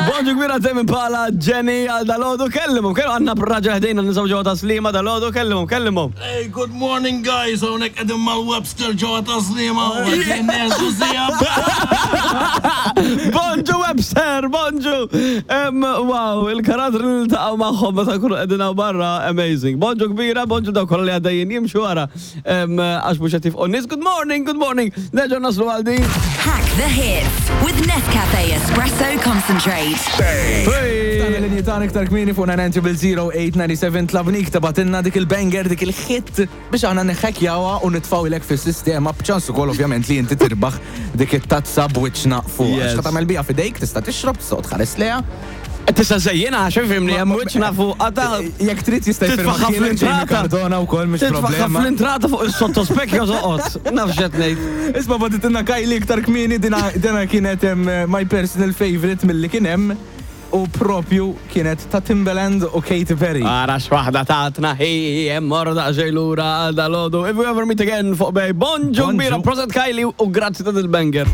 Bonġu kbira Tame Impala, Jenny għal dalgħodu, kellimhom, kellu għandna raġel ħdejna nisaw ġewwa Tas-Sliema dalgħodu, kellimhom, kellimhom. Hey, good morning guys, hawnhekk qegħdin mal-Webster ġewwa Tas-Sliema u qegħdin neżu sija. Bonġu Webster, bonġu! Wow, il-karattri li niltaqgħu magħhom meta nkunu qegħdin hawn barra, amazing. Bonġu kbira, bonġu dawk kollha li għaddejjin jimxu wara. Għax mhux qed jifqu nies. Good morning, good morning. Nerġgħu naslu għal din. Hack the hits with Nescafe Espresso Concentrate. Tana linji tagħna iktar kmieni fuq 990 tlabnik tabatilna dik il-banger, dik il-hit biex aħna neħekjawha u nitfgħu fis-sistema b'ċans ukoll ovvjament li inti tirbaħ dik it-tazza b'wiċċna fuq. Yes. X'ħa tagħmel biha f'idejk, tista' tixrob, tista' tħares lejha. Tista' żejjina għax ifhimni hemm wiċċna fuq għata. Jekk trid jista' Titfaħħa jfirma kienet Jamie fl-intrata. Cardona wkoll mhix Titfaħħa problema. fl-intrata fuq is-sottospecchio toqgħod. Naf x'qed ngħid. Isma' bagħtitilna Kylie iktar kmieni dina dina kienet em, my personal favorite milli kien hemm u propju kienet ta' Timbaland u Katy Perry. Ara x'waħda tatna hi hemm morru daqsxejn lura għal dalgħodu. If we ever meet again fuq Bay. Bonġu Bonġu. kbira, proset Kylie u grazzi ta' dil-banger.